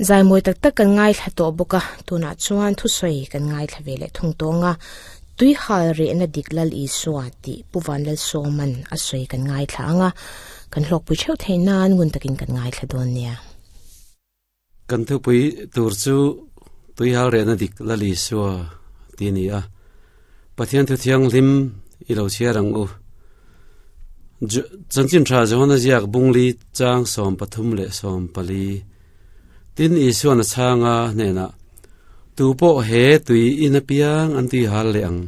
Zai mawi tak tak kan ngaithla tawh bawk a, tunah chuan thusawi kan ngaithla ve leh thung tawng a, Tuihal rehna dik Lal Isua tih Pu Vanlalsawman a sawi kan ngaithla ang a, kan hlawkpui theuh theih nan ngun takin kan ngaithla dawn nia. Kan thupui tur chu Tuihal rehna dik Lal Isua tih a ni a, Pathian thu thianghlim i lo chhiar ang u. Chanchin tha Johana ziak bungli chang 34 leh 40. Tin Isuan a chhanga hnenah, Tu pawh he tui in apiang an tui hal leh ang.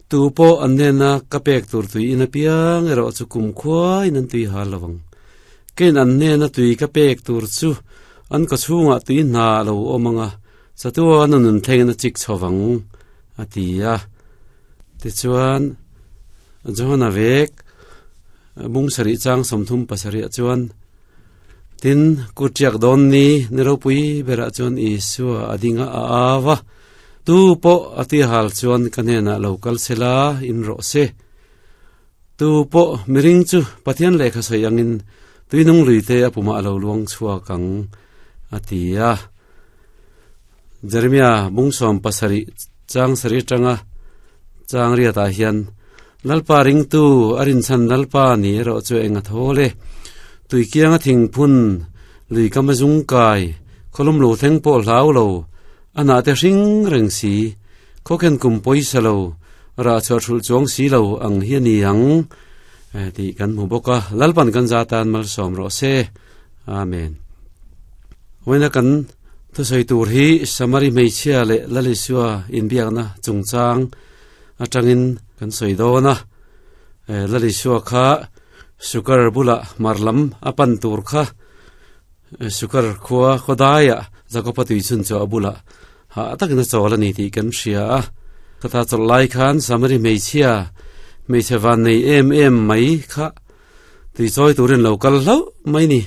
Tu pawh an hnena ka pek tur tui in apiang erawh chu kumkhuain an tui hal lo ang. Kein an hnena tui ka pek tur chu an kawchhungah tui hna a lo awm ang a, Chatuan a nun thlengin a chik chho vang, a ti a. Tichuan, Johana vek bung sarih chang 37 ah chuan, Tin, kut ṭiak dawn ni, ni ropui berah chuan Isua a ding a, a au a, Tu pawh a ti hal chuan ka hnenah lo kal se la, in rawh se. Tu pawh miring chu Pathian lehkha sawi angin tuinung luite a pumah a lo luang chhuak ang, a ti a. Jeremia bung 70 chang sarih atanga chang riatah hian Lalpa ringtu a rinchhan Lalpa ni erawh chu eng a thawl e. Tuikianga thingphun lui kam a zung kai, khawlum lo thleng pawh hlau lo, a hnah te hring reng si, khawkhen kum pawisa lo, rah chhuah hrulh chuang si lo ang hi a ni ang tih kan hmu bawk a. Lalpan kan za tan malsawm rawh se. Amen. Vawiina kan thusawi tur hi Samari hmeichhia leh Lal Isua inbiakna chungchang atangin kan sawi dawn a. Lal Isua kha Sukar bulah hmar lam a pan tur kha Sukar khua khawdaiah Jakoba tui chhun chu a bulah hah takin a chawl a ni tih kan hria a. Khata chawlh lai khan Samari hmeichhia hmeichhe van nei em em mai kha tui chawi turin lo kal hlauh mai ni.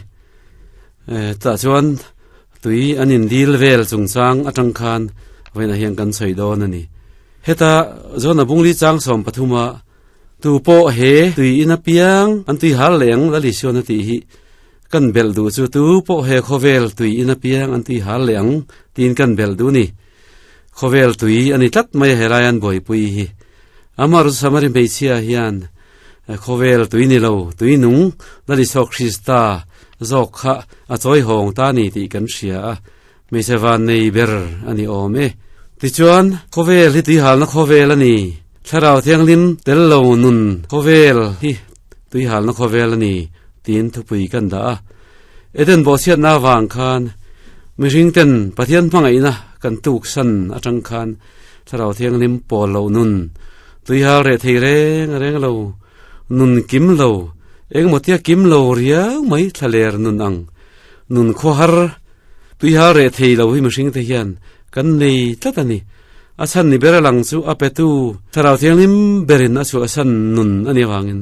Tah chuan tui an indil vel chungchang atang khan vawiinah hian kan sawi dawn a ni. Heta John-a bungli chang 13 a tu pawh he tui in apiang an tui hal leh ang Lal Isuan a tih hi kan belh duh chu tu pawh he khawvel tui in apiang an tui hal leh ang tiin kan belh duh ni. Khawvel tui a ni tlat mai a helai an buaipui hi. Amah Samari hmeichhia hian Khawvel tui ni lo, tui nung Lal Isua Krista zawk kha a chawi hawng ta ni tih kan hria a, hmeichhe van nei ber a ni awm e. Tichuan, khawvel hi tuihalna khawvel a ni, Thlarau Thianghlim tel lo nun khawvel hi tuihalna khawvel a ni tiin thupui kan dah a. Eden bawhchhiatna avang khan mihring ten Pathian hmangaihna kan tuksan atang khan Thlarau Thianghlim pawl loh nun, tuihal reh thei reng reng lo, nun kim lo, engemaw tia kim lo riau mai thlaler nun ang, nun khawhar, tuihal reh thei lo hi mihring te hian kan nei tlat a ni. A chhan ni ber a lang chu a petu Thlarau Thianghlim berin a chhuahsan nun a nih avangin,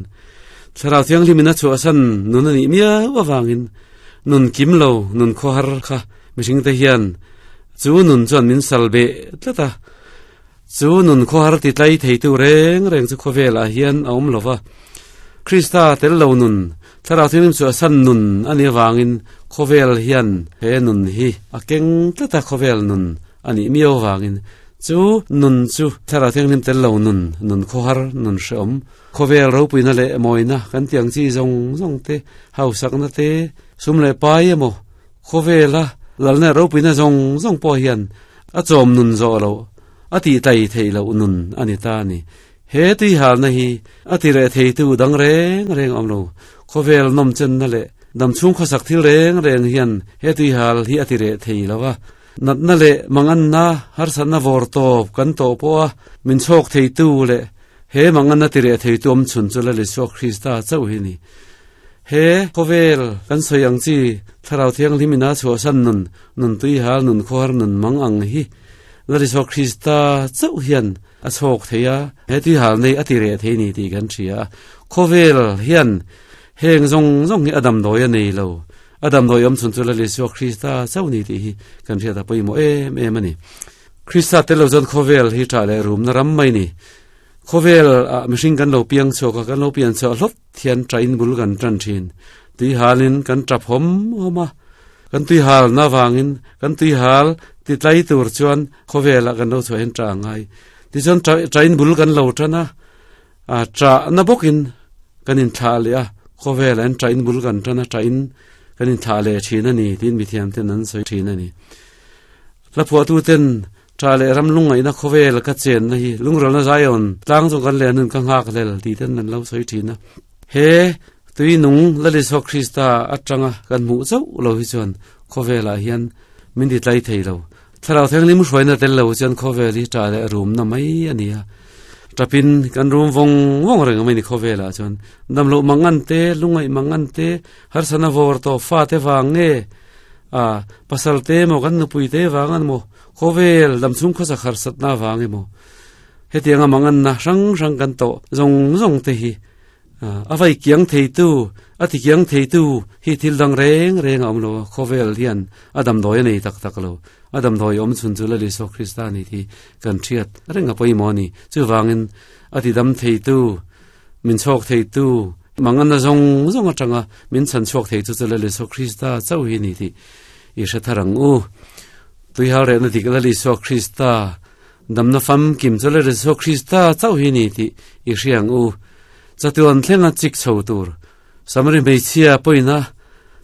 Thlarau Thianghlimin a chhuahsan nun a nih miau avangin nun kim lo, nun khawhar kha mihring te hian Chu nun chuan min sal beh tlat a, chu nun khawhar ti tlai theitu reng reng chu khawvelah hian a awm lo va. Krista tel lo nun, Thlarau Thianghlim chu a san nun a nih avangin khawvel hian he nun hi a keng tlat a, khawvel nun a nih miau avangin chu nun chu Thlarau Thianghlim tel lo nun, nun khawhar, nun hrehawm, khawvel ropuina leh mawina kan tih ang chi zawng zawng te, hausakna te, sum leh pai emaw, Khawvela lalna ropuina zawng zawng pawh hian a chawm nun zawh loh, a tih tlai theih loh nun a ni ta a ni. He tuihalna hi a ti reh theitu dang reng reng a awm lo. Khawvel nawmchenna leh damchhung khawsak thil reng reng hian he tuihal hi a ti reh thei lo a. Natna leh manganna harsatna vawr tawp kan tawh pawha min chhawk theitu leh he manganna ti reh theitu awm chhun chu Lal Isua Krista chauh hi a ni. He khawvel kan sawi ang chi Thlarau Thianghlim ina chhuahsan nun, nun tuihal, nun khawhar, nun mang ang hi Lal Isua Krista chauh hian a chhawk thei a, he tuihal nei a ti reh thei ni tih kan hria a. Khawvel hian heng zawng zawng hi a damdawi a nei lo, a damdawi awm chhun chu Lal Isua Krista chauh ni tih hi kan hriat a pawimawh em em a ni. Krista tel lo chuan khawvel hi ṭah leh rumna ram mai ni. Khawvel ah mihring kan lo piang chhuak a, kan lo pian chhuah hlawt. Thian ṭain bul kan ṭan ṭhin. Tui halin kan ṭap hawm hawm a. Kan tui hal na wangin kan tui hal ti tlai tur chuan khawvela kan lo chhuah hian ta ngai. Ti chuan train bul kan lo tana a tra na bokin kan in thla le a khawvela an train bul kan tana train kan in thla le thin ani tin mi thiam ten an soi thin ani. La phua tu ten tra le ram lungai na khawvel ka chen na hi lungral na zion tlang jong kan le nun ka ngak lel ti ten an lo soi thin a. He tui nung lali so Krista atanga kan mu chau lo hi chuan khawvela hian min ti tlai thei lo. Tharau theng lim hruai na tel lo chuan khawvel hi tra le rum na mai ani a. Tapin kan rum vong vong reng mai ni khawvela chuan dam lo mangan te lungai mangan te har sana vor to fa te wang nge a pasal te mo kan nupui te wangan mo khawvel dam chung kho sa khar sat na wang mo hetianga mangan na rang rang kan to zong zong te hi a vai kiang thei tu a ti kiang thei tu hi thil dang reng reng om lo khawvel hian adam doi nei tak tak lo adam doi om chun chu la li so Krista ni thi kan thiat renga poi mo ni chu wangin ati dam thei tu min chok thei tu mangan na zong zong atanga min chan chok thei chu chu la li so Krista chau hi ni thi i sha tharang u tui hal re na dik la li so Krista dam na fam kim chu la li so Krista chau hi ni thi i hriang u chatuan thlenga chik chho tur samari meichia poina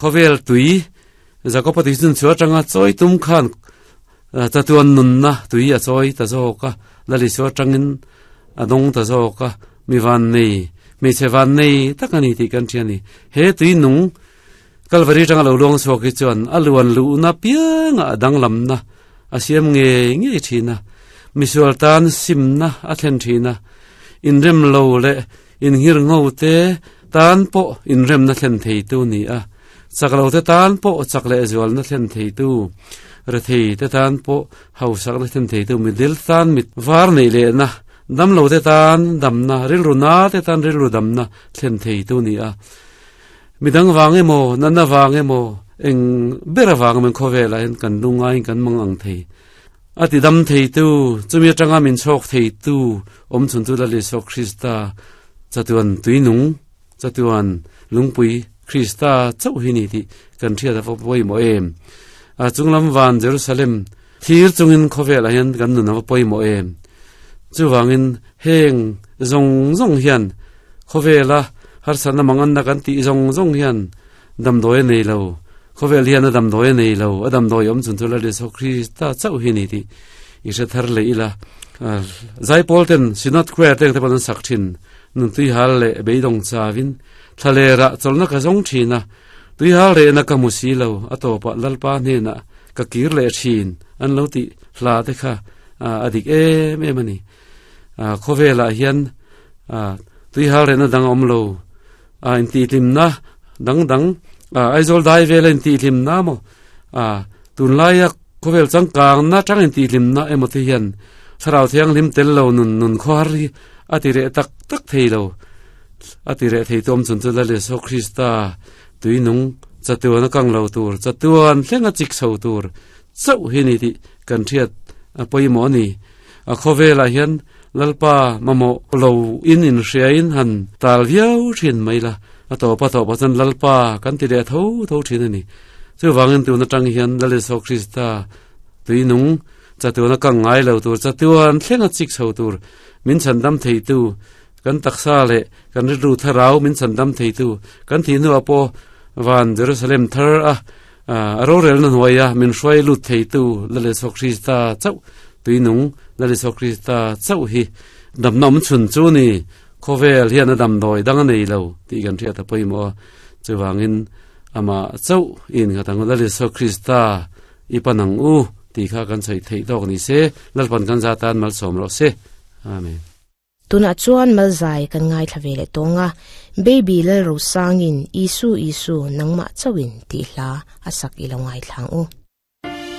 khovel tui zakopati chun chu atanga choi tum khan chatuan nun na tui a choi ta zo ka lali chu atangin adong ta zo ka mi van nei mi che van nei takani ti kan thiani he tui nung Kalvari tanga lo long so ki chuan aluan lu na pianga adang lam na a siam nge nge thina misual tan sim na a thlen thina in rem lo le in hir ngau te tan po in rem na thlen thei tu ni a chaklo te tan po chakle zual na thlen thei tu re thei te tan po hau sak na thlen thei tu mi dil tan mit var nei le na dam lo te tan dam na ril ru na te tan ril ru dam na thlen thei tu ni a midang wang emo nana wang emo eng bera wang men khowela hen kan lunga in kan mang ang thei ati dam thei tu chumi atanga min chok thei tu om chun tu la le so Krista chatuan tuinung chatuan lungpui Krista chau hi ni ti kan thia da poi mo em a chunglam van Jerusalem thir chungin khowela hen kan nu na poi mo em chu wangin heng zong zong hian khowela har sana mangan na kan ti zong zong hian dam doi nei lo khovel hian dam doi nei lo adam doi om chun thula le so Krista chau hi ni ti i se thar le ila zai pol ten sinat kwe teng te pan sak thin nun tui hal le beidong chawin thlale ra cholna ka zong thina tui hal re na ka musi lo ato pa lalpa hne na ka kir le thin an lo ti hla te kha adik em em ani khowela hian tui hal re na dang om lo a in ti lim na dang dang aizol dai vel in ti lim na mo tun lai a khowel chang kang na chang in ti lim na emo te hian tharau thiang lim tel lo nun nun khor hi ati re tak tak thei lo ati re thei tom chun chu la le so Krista tui nung chatuan kang lo tur chatuan thlenga chik chho tur chau hi ni ti kan thiat a poimo ni a khowela hian lalpa mamo lo in in hria in han tal viau thin mai la a to pa to pa chan lalpa kan ti le tho tho thin ani chu wangin tu na tang hian lale so Krista tui nung chatuan kang ngai lo tur chatuan thlenga chik chho tur min chan dam thei tu kan taksa le kan ru tharau min chan dam thei tu kan thi nu apo van Jerusalem thar a ro rel na hnuaia min hruai lut thei tu lale so Krista chau tui nung lale so Krista chau hi dam nom chun chu ni khovel hian a dam doi dang nei lo ti kan thia ta poimo chuwangin ama chau in nga tang lale so Krista ipanang u ti kha kan chai thei dok ni se lalpan kan za tan mal som ro se amen. Tuna chuan malzai kan ngai thlavele tonga baby lal ro sangin isu isu nangma chawin ti hla asak ilo ngai thlang u.